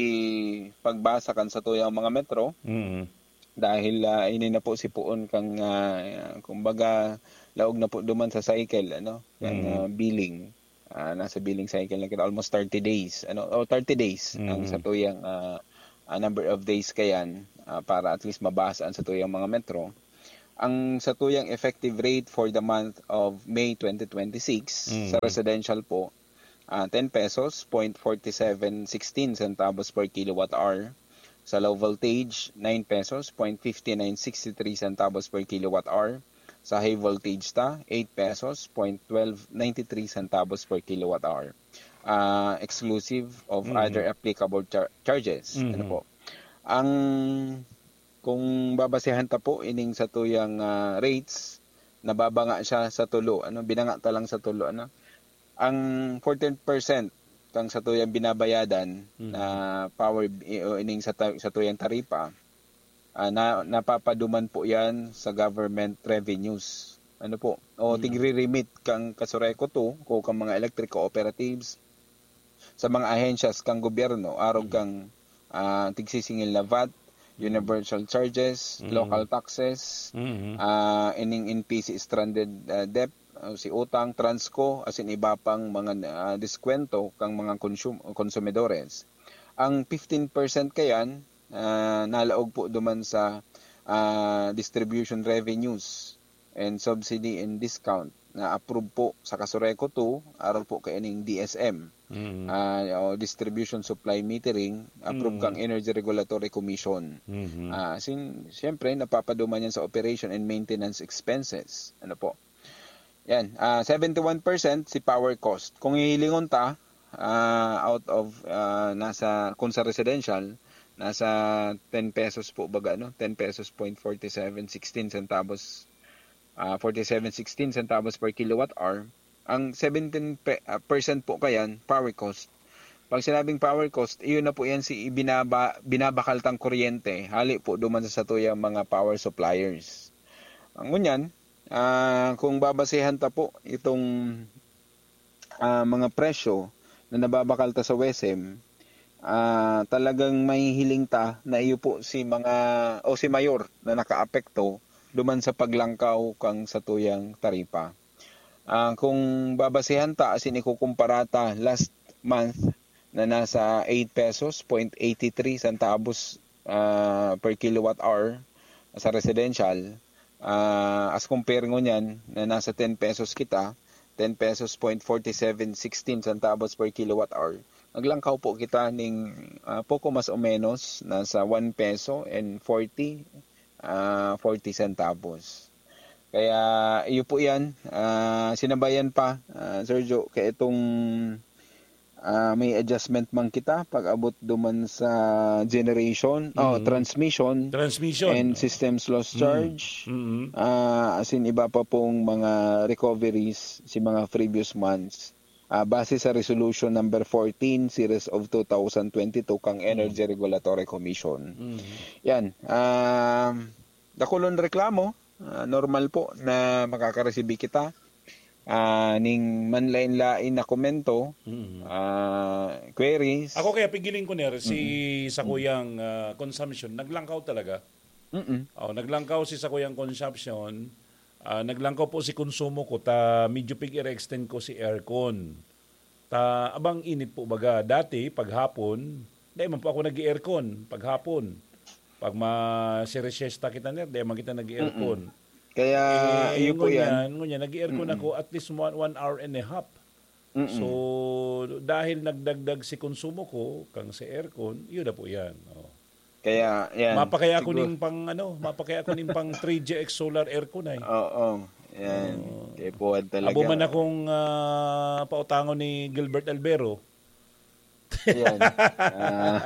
pagbasa kan satuyang mga metro. Mm. Dahil, ah, ini na po si poon kang, ah, kumbaga, laog na po duman sa cycle, ano, kang, Mm. ah, billing. Ah, nasa billing cycle na kita, almost thirty days, ano, o thirty days ang Mm. satuyang, ah, ah, number of days kayan. ah, para at least mabasa ang satuyang mga metro. Ang satuyang effective rate for the month of May twenty twenty-six sa Mhm. residential po, ah, ten pesos, point forty-seven sixteen centavos per kilowatt hour. Sa low voltage, nine pesos, point fifty-nine sixty-three centavos per kilowatt hour. Sa high voltage ta, eight pesos, point twelve ninety-three centavos per kilowatt hour. Ah, exclusive of Mhm. other applicable char- charges. Ano Mhm. po? Ang kung babasehan ta po ining satuyang, ah, rates, nababanga siya sa tulo, ano, binanga ta lang sa tulo, ano. Ang fourteen percent kang satuyang binabayadan Mhm. na power bi- o ining sa ta- satuyang taripa, ah, na napapaduman po 'yan sa government revenues. Ano po? O Mhm. tigre-remit kang Kasureco two o kang mga electric cooperatives sa mga ahensyas kang gobyerno, arog Mhm. kang, ah, tigsisingil na vat, Mhm. universal charges, Mhm. local taxes, Mhm. ah, ining N P C stranded, ah, debt, ah, si utang, transco, asin iba pang mga, ah, diskwento kang mga konsum- konsumidores. Ang fifteen percent kayan, ah, nalaog po duman sa, ah, distribution revenues and subsidy and discount na approve po sa Kasureco two, arog po kaining D S M, Mhm. ah, o Distribution Supply Metering, approve Mm. kang Energy Regulatory Commission. Mhm. Ah, sin, siyempre, napapaduman yan sa operation and maintenance expenses. Ano po? Yan, ah, seventy-one percent si power cost. Kung hihilingon ta, ah, out of, ah, nasa, kung sa residential, nasa ten pesos po baga, no? Ten pesos point forty-seven sixteen centavos, ah, forty-seven sixteen centavos per kilowatt hour. Ang seventeen pe- ah, percent po kayan, power cost. Pag sinabing power cost, iyon na po yan si ibinaba, binabakaltang kuryente. Hali po duman sa satuyang mga power suppliers. Ang ngunyan, ah, kung babasehan ta po itong, ah, mga presyo na nababakal ta sa WESM, ah, talagang mahihiling ta na iyo po si mga o si mayor na nakaapekto duman sa paglangkaw kang satuyang taripa. Ah, kung babasehan ta asin ikukumpara ta last month na nasa eight pesos point eighty three centavos, ah, per kilowatt hour sa residential, ah, as compare ngunyan na nasa ten pesos kita, ten pesos point forty seven sixteen centavos per kilowatt hour, naglangkaw po kita ning, ah, poko mas o menos nasa one peso and forty, ah, forty centavos. Kaya iyo po yan, ah, sinabayan pa, ah, Sir Joe, kaya itong, ah, may adjustment man kita pag-abot duman sa generation, oh, Mhm. transmission, Transmission. and systems loss Mm. charge, Mm. ah, as in iba pa pong mga recoveries si mga previous months. Ah, base sa resolution number fourteen series of two thousand twenty-two kang Energy Regulatory Commission. Mm. Yan. Um, dakulon reklamo, ah, normal po na makakaresibi kita, ah, ning manlain-lain na komento, Mm. ah, queries. Ako kaya pigiling ko, Ner, si sakuyang, ah, consumption, naglangkaw talaga. Mm-mm. Oh, naglangkaw si sakuyang consumption, ah, naglangkaw po si konsumo ko, ta medyo pig-extend ko si aircon. Ta abang init po baga. Dati, paghapon, dai man po ako nag-aircon, paghapon. Pag ma-siesta kita, Ner, dai man kita nag-aircon. Kaya, Eh, iyo po yan. ngunyan, ngunyan, nag-aircon ako at least one, one hour and a half. Mm-mm. So, dahil nagdagdag si konsumo ko, kang sa aircon, yun na po yan. Oh. Kaya, yan. Mapakaya ako Siguro- ning pang, ano, mapakaya ako ning pang three G X solar aircon ay. Oo, yan. Oo. Kaya po talaga. Abo man akong ah, pautangon ni Gilbert Albero. Yan. Ah,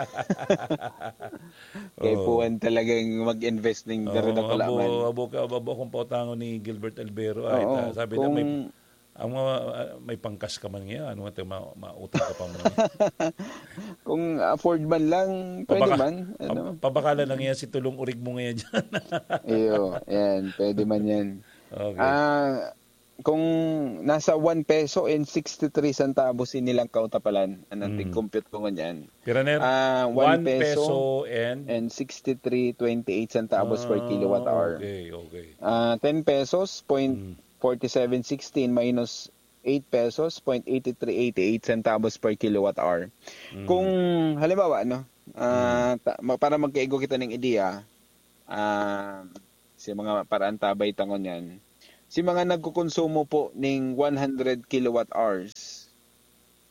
kaya Oo. po talagang mag-invest ng Oo, pero dakula abo, man. abo, ka, abo akong pautangon ni Gilbert Albero. Ay, Oo, ta- sabi na kung, may, ang mga, ah, may pangkas ka man ngayon, ano nga, ma, mautang ka pa man. kung afford man lang, pwede Pabaka- man. Ano? pab- pabakalan lang yan si tulong urig mo ngayon dyan. Iyo, yan. Pwede man yan. Okay. Ah, kung nasa one peso and sixty-three centavos inilang kautapalan, anong Mm. tig-compute ko ngunyan? Pira na yan? Ah, One one peso peso and and sixty-three twenty-eight centavos per Ah, kilowatt hour. Okay, okay. Ah, ten pesos, Mm. point forty-seven sixteen minus eight pesos, point eighty-three eighty-eight centavos per kilowatt hour. Mm. Kung halimbawa, no, ah, ta- ma- para magkaigo kita ng ideya, ah, sa mga paraantabay ta ngunyan, si mga nagkokonsumo po ning one hundred kilowatt hours,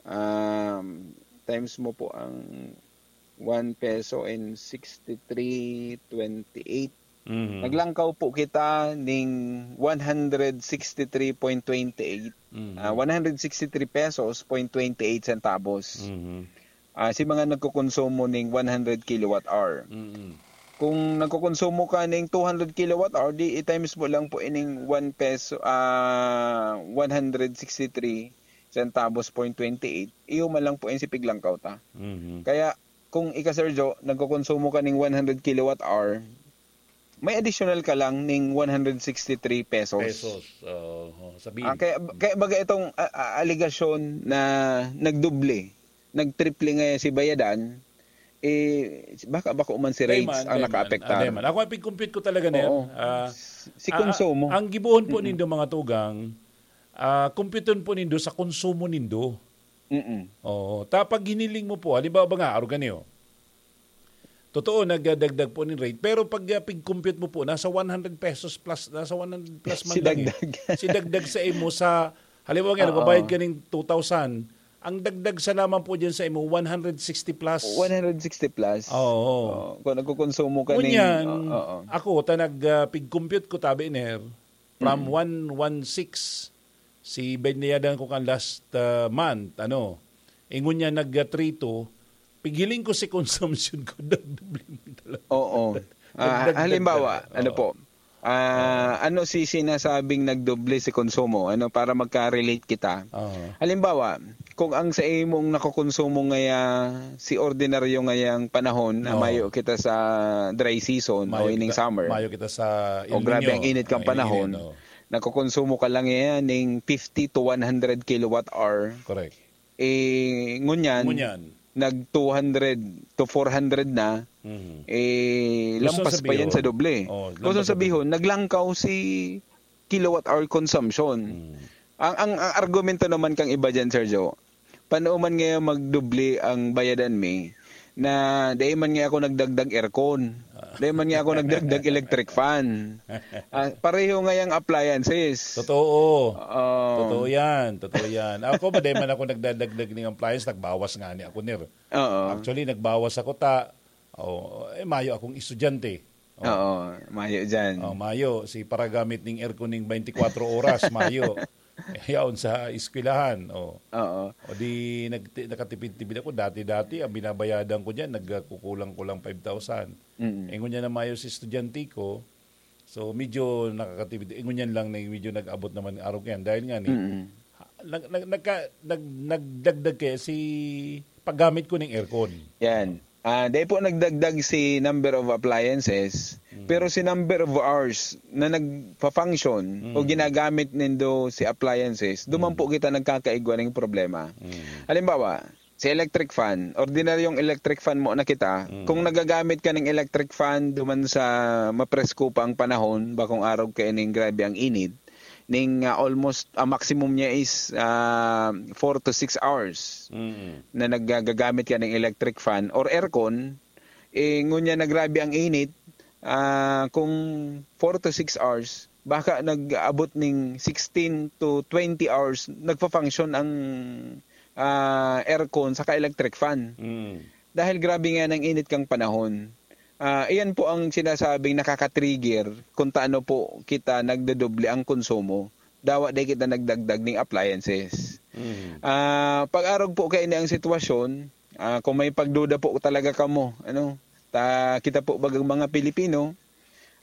um, times mo po ang one peso and sixty-three twenty-eight. Mhm. Naglangkaw po kita ning one hundred sixty-three point twenty-eight, Mhm. ah, one hundred sixty-three pesos point twenty-eight centavos. Mhm. Ah, si mga nagkokonsumo ning one hundred kilowatt hour. Mhm. Kung nagkokonsumo ka ning two hundred kilowatt hour, di i-times mo lang po ining one peso, ah, one hundred sixty-three centavos point twenty-eight, iyo man lang po yung si piglangkaw ta. Mhm. Kaya, kung ika, Sergio, nagkokonsumo ka ning one hundred kilowatt hour, may additional ka lang ning one hundred sixty-three pesos. Pesos. Oo, sabihin. Ah, kaya, kaya baga itong, ah, ah, alegasyon na nagdoble, nagtriple nga si bayadan, eh, baka bako man si Dai rates man, ang dai man. nakaapektar. Ah, dai man. Ako, ang pig-compute ko talaga, Ner, Oo. ah, Si ah, konsumo. ang gibohon po Mm-mm. nindo, mga tugang, ah, computeon po nindo sa konsumo nindo. Mm-mm. Oo. Ta, pag hiniling mo po, halimbawa ba nga, arog kani, oh. Totoo, nagdagdag po ning rate. Pero pag, ah, pig-compute mo po, nasa one hundred pesos plus, nasa one hundred plus man Si lang, eh. dagdag. Si dagdag sa imo sa, halimbawa nga, Oo. nagbabayad ka ning two thousand, ang dagdag sa lamang po dyan sa imo, one hundred sixty plus. One hundred sixty plus. Oo. Oo. Kung nagkukonsumo ka ning Ngunyan, oo, oo. ako, ta nag, ah, pig-compute ko, tabi, Ner, from Mm. one one six, si binayadan ko kan last, ah, month, ano, ingon niya nag, ah, three two, pighiling ko si consumption ko, nagdoble man talaga. Oo. Ah, Nagdagdag halimbawa, talaga. ano Oo. po, ah, Oo. ano si sinasabing nagdoble si konsumo? Ano, para magka-relate kita. Oo. Halimbawa, kung ang sa imong nakokonsumo ngaya, si ordinaryo ngayang panahon na Oo. mayo kita sa dry season o Mayo ining kita, summer, mayo kita sa o El grabe ang Niño, init kang ang panahon, init, oo. nagkokonsumo ka lang yan ning fifty to one hundred kilowatt hour. Correct. Eh, ngunyan, Ngunyan. nag two hundred to four hundred na, Mhm. eh, Gusto lampas pa yan sabihin. sa doble. Oh, Gusto lampas sa sabihon, doble. naglangkaw si kilowatt hour consumption. Mm. Ang, ang, ang argumento naman kang iba dyan, Sergio, paano man ngayon magdoble ang bayadan mi na dai man nga ako nagdagdag aircon? Ah. Dai man nga ako nagdagdag electric fan. Ah, pareho nga yung appliances. Totoo. Oo. Totoo yan. Totoo yan. Ako, ba, dai man ako nagdadagdag ning appliance, nagbawas nga ni ako, Ner. Oo. Actually, nagbawas ako ta, oh, eh, mayo akong estudyante. Oh. Oo, mayo dyan. Oh, mayo. Si paragamit ning aircon ning twenty-four oras, mayo. Eh, yaon sa eskwelahan. Oh. Oo. O di, nagti-, nakatipid-tipid ako. Dati-dati, ang binabayadan ko dyan, nagkukulang-kulang five thousand. Mm. Eh, ngunyan na mayo si estudyante ko, so, medyo nakakatipid. Eh, ngunyan lang na medyo nag-abot naman araw ko yan. Dahil nga ni, Mm. ha-, nag-, nag-, nagka-, nag-, nagdagdag kaya si paggamit ko ng aircon. Yan. Ah, dahil po nagdagdag si number of appliances, Mm. pero si number of hours na nagpa-function o Mm. ginagamit nindo si appliances, duman Mm. po kita nagkakaigwa ng problema. Mm. Halimbawa, si electric fan, ordinaryong electric fan mo na kita, Mm. kung nagagamit ka ng electric fan duman sa mapresko pa ang panahon, bakong araw ka ining grabe ang init, ning, ah, almost, ang maximum niya is, ah, four to six hours Mm. na nagagamit ka ng electric fan or aircon, eh, ngunyan na grabe ang init, ah, kung four to six hours, baka nag-abot ning sixteen to twenty hours nagfa-function ang, ah, aircon saka electric fan. Mm. Dahil grabe nga nang init kang panahon. Ah, iyan po ang sinasabing nakaka-trigger kung taano po kita nagdodoble ang konsumo. Dawa di kita nagdagdag ning appliances. Mm. Ah, pag-arog po kaini ang sitwasyon, ah, kung may pagduda po talaga kamo, ano, ta, kita po bagang mga Pilipino,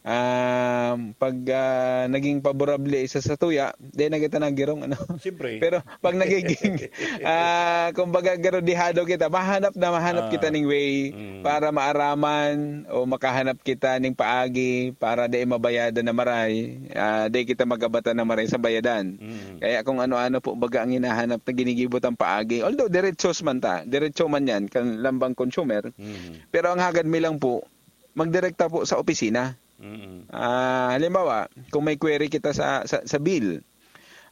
ah, pag, ah, naging paborable sa satuya, di na kita naggirong, ano. Siyempre. Pero pag nagiging, ah, kumbaga, garudihado kita, mahanap na mahanap Ah. kita ning way Mm. para maaraman o makahanap kita ning paagi para di mabayadan na maray, ah, di kita magabatan na maray sa bayadan. Mm. Kaya kung ano-ano po baga ang hinahanap na ginigibo tang paagi, although diretsyo man ta, diretsyo man yan, kan lambang consumer, Mm. pero ang hagad mi lang po, magdirekta po sa opisina. Mm. Ah, halimbawa, kung may query kita sa, sa, sa bill,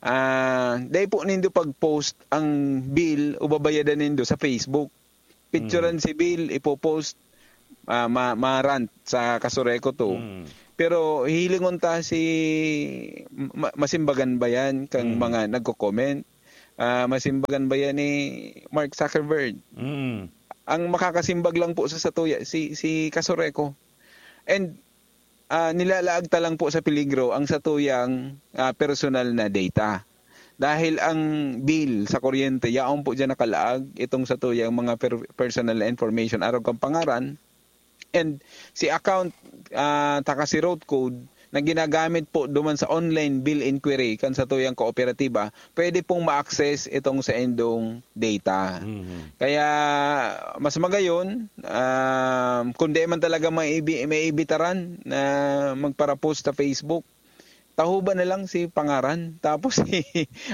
ah, dai po nindo pag-post ang bill o babayadan nindo sa Facebook. Picturean Mm. si bill, ipo-post. ah, ma-, ma-rant sa Kasureco two. Mm. Pero hilingon ta si ma-, masimbagan ba yan kang Mm. mga nagko-comment? Ah, masimbagan ba yan ni Mark Zuckerberg? Mm. Ang makakasimbag lang po sa satuya, si, si Kasureco. And, ah, nilalaag ta lang po sa peligro ang satuyang, ah, personal na data. Dahil ang bill sa kuryente, yaon po diyan nakalaag itong satuyang mga per-, personal na information, arog kang pangaran, and si account, ah, taka si route code na ginagamit po duman sa online bill inquiry kan satuyang kooperatiba, pwede pong ma-access itong saindong data. Mhm. Kaya mas magayon, ah, kung di man talaga may ibi-, may ibitaran na magparapost sa Facebook, tahuban na lang si pangaran, tapos si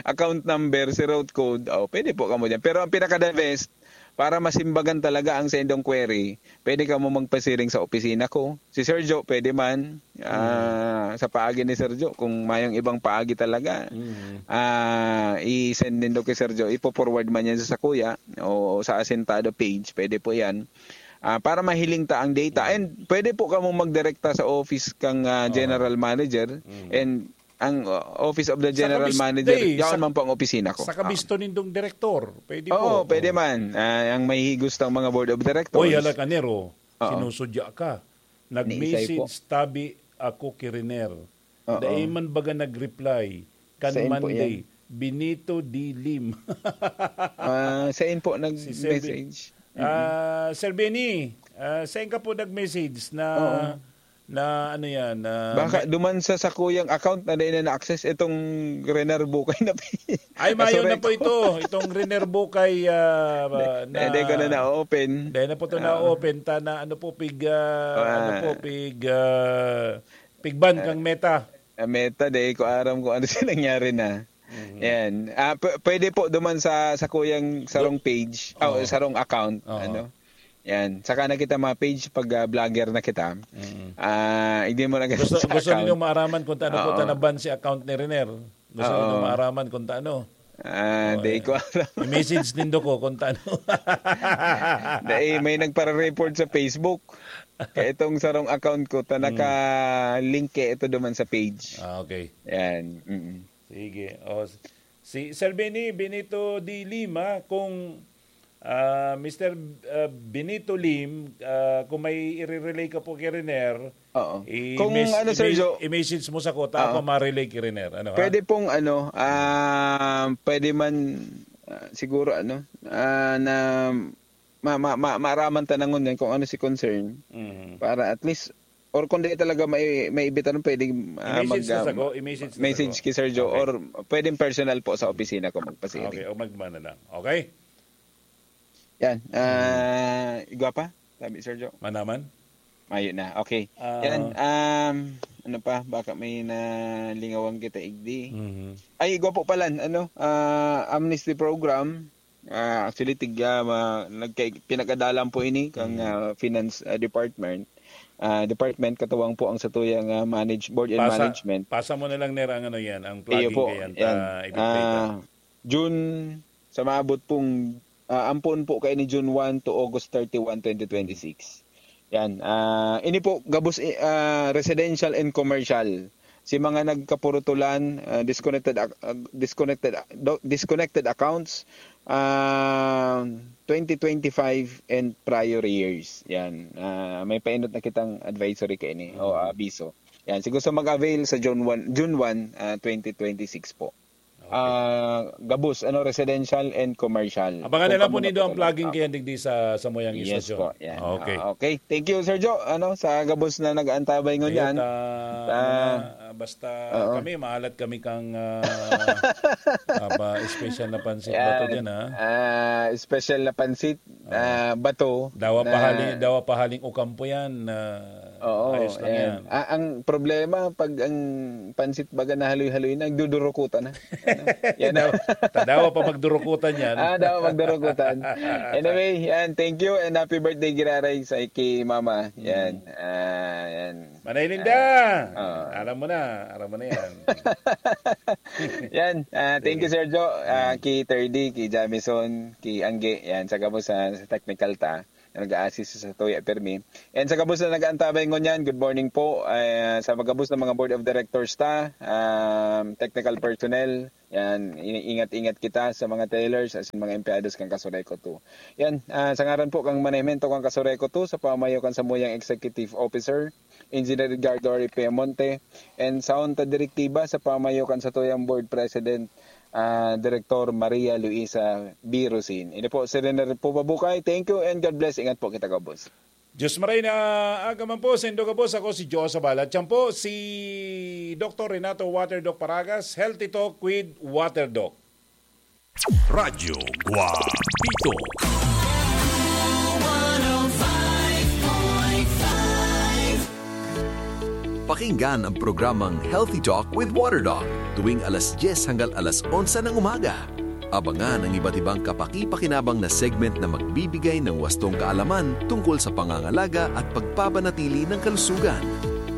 account number, si route code, oh, pwede po kamo diyan. Pero ang pinaka-the best, para masimbagan talaga ang saindong query, pwede kamo magpasiring sa opisina ko. Si Sir Joe, pwede man, ah, Mm. sa paagi ni Sir Joe, kung mayong ibang paagi talaga, Mm. ah, i-send nindo kay Sir Joe, ipo-forward man yan sa Sakuya o sa Asintado page, pwede po yan. Ah, para mahiling ta ang data. Mm. And pwede po kamo magdirekta sa office kang, ah, Oo. general manager Mm. and ang, uh, office of the Sa general kabis-, manager, di, yaon sa, man po ang opisina ko. sa Ah. kabisto nindong direktor, pwede Oo, po. pwede Oo. man. Ah, ang mahihigos ng mga board of directors. Oy, hala ka, Nero. Oo. Sinusudya ka. Ni Isay po. Nag-message tabi ako ki Riner. Oo. Dai man baga nag-reply. Kan Sain po Monday, yan? Benito D. Lim. Ah, sain po Si Sir Be-, nag-message? Mm-mm. ah, Sir Benny, ah, sain ka po nag-message na, Oo. na ano yan, na Baka me- duman sa sakuyang account na dai na na-access itong Rener Bukay na pi-, Ay, mayo na Sorry po po. ito. Itong Rener Bukay, ah, Di, na, di ko na na-open. Dai na po ito Ah. na-open. Ta na ano po, pig, ah, Ah. ano po, pig, ah, pig ban Ah. kang Meta. Ah, Meta, di ko aram kung ano siya nangyari na. Mhm. Yan. Ah, p-, pwede po duman sa, sa kuyang sarong Do-, page, oh, oo. sarong account, Oo. ano. Yan. Saka na kita mga page pag, ah, vlogger na kita. Mhm. Ah, hindi mo na Gusto, sa gusto account. ninyo maaraman kung taano po Oo. tanaban si account ni Riner. Gusto Oo. ninyo maaraman kung taano. Ah, Oo, di eh. ko alam. I-message nindo ko kung taano. Dai, may nagpara-report sa Facebook. Kaya itong sarong account ko, ta Mm. naka-link kaya ito duman sa page. Ah, okay. Yan. Mm-mm. Sige. O, s-, si Sir Benny, Benito D. Lima, kung, ah, Mister, ah, Benito Lim, ah, kung may i-relay ka po kay Riner, Oo. i-mes-, Kung ano, Sir i-mes-, Joe? i-message mo sa ko, ta Oo. ako ma-relay kay Riner. Ano, ha? Pwede pong ano, ah, pwede man, ah, siguro ano, ah, na ma-, ma-, ma-, maaraman ta na ngunyan kung ano si concern. Mhm. Para at least, or kung di talaga may, may ibitaran, pwedeng, ah, I-message mag, na ah, sa ko, i-message na sa message ko. kay Sir Joe, Okay. or pwedeng personal po sa opisina ko magpasiring. Okay, o magmana lang. Okay? Yan, Mhm. ah, igwa pa? Sabi, Sir Joe. Manaman? Mayo na. Okay. Ah. Yan, um, ano pa? Baka may nalingawan kita, igdi. Mhm. Ay, igwa po pala, ano, ah, amnesty program. Ah, actually, tig-, ah, ma-, nagka-, pinag-adalan po ini kang, Mhm. ah, finance, ah, department. Ah, department, katuwang po ang satuyang, ah, manage-, board and Pasa-, management. pasa mo na lang, Ner, ang ano yan, ang Iyo plugging po, kaya yan. ta, i-play ta. Ah, June, sa maabot pong, ah, ampon po kayo ni June one to August thirty-one, twenty twenty-six. Yan. Ah, ini po, gabos, eh, ah, residential and commercial. Si mga nagkapurutulan, ah, disconnected ac-, ah, disconnected, ah, do-, disconnected accounts, ah, twenty twenty-five and prior years. Yan. Ah, may painot na kitang advisory kaini o Mm. abiso. Yan. Siguro sa mag-avail sa June one, June one, ah, twenty twenty-six po. Okay. Ah, gabos, ano, residential and commercial. Abangan Kung na lang po kamo nindo ang napatulog. plugging Ah. kaya digdi sa, sa Moyang Yes Istasyon. po, yan. Okay. Ah, okay. Thank you, Sir Joe, ano, sa gabos na nag-aantabay Ayun, ngunyan. ah, Ah, mga, ah, basta Oo. kami, maalat kami kang, ah, ah, pa-, special na pansit Yan. bato dyan, ha? Ah, special na pansit, Oo. ah, bato Dawa na pahaling, dawa pahaling Ocampo yan, ah, Oo, ayos lang ayan. yan. Ah, ang problema, pag ang pansit baga nahaloy-haloy na, nagdudurukutan na. Ano? Yan. Dawa, dawa pa magdurukutan yan. Ah, dawa magdurukutan. Anyway, yan. Thank you and happy birthday, Giraray, sa kay Mama. Yan. Mm. Ah, yan. Manay Linda! Ah, oo. Alam mo na. Alam mo na yan. Yan. Ah, thank you, Sige. Sir Joe. Ah, Mm. kay Thirdy, kay Jamison, kay Angge. Yan. Sa gabos sa, sa technical ta. nag-a-assist sa tuya permi. And sa gabos na nag-aantabay ngunyan, good morning po. Ah, sa gabos ng mga board of directors ta, um, technical personnel, yan, ingat-ingat kita sa mga tellers, asin mga empleyados kan Casureco two. Yan, ah, sa ngaran po kan manahimento kan Casureco two, sa pamayo kan samuyang executive officer, Engineer Edgardo Ripemonte, and sa onta direktiba sa pamayo kan satuyang board president, ah, Director Maria Luisa Birusin. Ini po, si Rene po Babukay. Thank you and God bless. Ingat po kita, gabos. Diyos maray na aga man po, sendo gabos. Ako si Joe Sabala. Tiyan po, si Doktor Renato Waterdoc Paragas, Healthy Talk with Waterdoc. Radyo Guapito. Pakinggan ang programang Healthy Talk with Waterdoc tuwing alas dyes hanggang alas onse ng umaga. Abangan ang iba't ibang kapakipakinabang na segment na magbibigay ng wastong kaalaman tungkol sa pangangalaga at pagpapanatili ng kalusugan.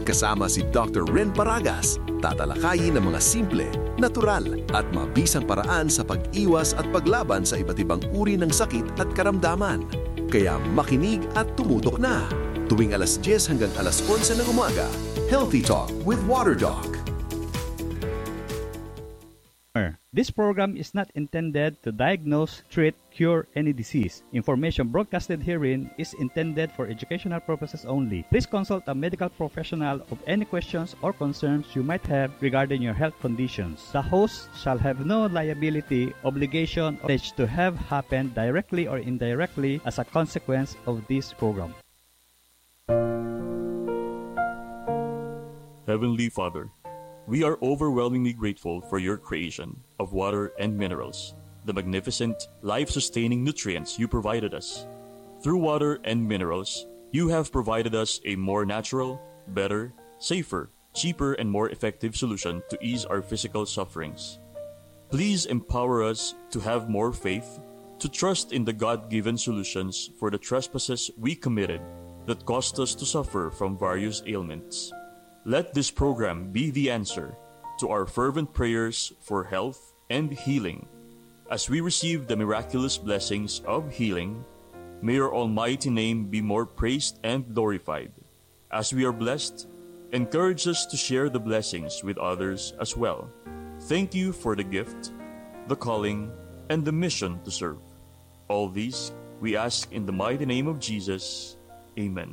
Kasama si Doctor Ren Paragas, tatalakayin ang mga simple, natural, at mabisang paraan sa pag-iwas at paglaban sa iba't ibang uri ng sakit at karamdaman. Kaya makinig at tumutok na. Tuwing alas dyes hanggang alas onse ng umaga, Healthy Talk with Waterdoc. This program is not intended to diagnose, treat, cure any disease. Information broadcasted herein is intended for educational purposes only. Please consult a medical professional of any questions or concerns you might have regarding your health conditions. The host shall have no liability, obligation, or knowledge to have happened directly or indirectly as a consequence of this program. Heavenly Father, we are overwhelmingly grateful for your creation of water and minerals, the magnificent, life sustaining nutrients you provided us. Through water and minerals, you have provided us a more natural, better, safer, cheaper, and more effective solution to ease our physical sufferings. Please empower us to have more faith, to trust in the God given solutions for the trespasses we committed that caused us to suffer from various ailments. Let this program be the answer to our fervent prayers for health and healing. As we receive the miraculous blessings of healing, may your almighty name be more praised and glorified. As we are blessed, encourage us to share the blessings with others as well. Thank you for the gift, the calling, and the mission to serve. All these we ask in the mighty name of Jesus. Amen.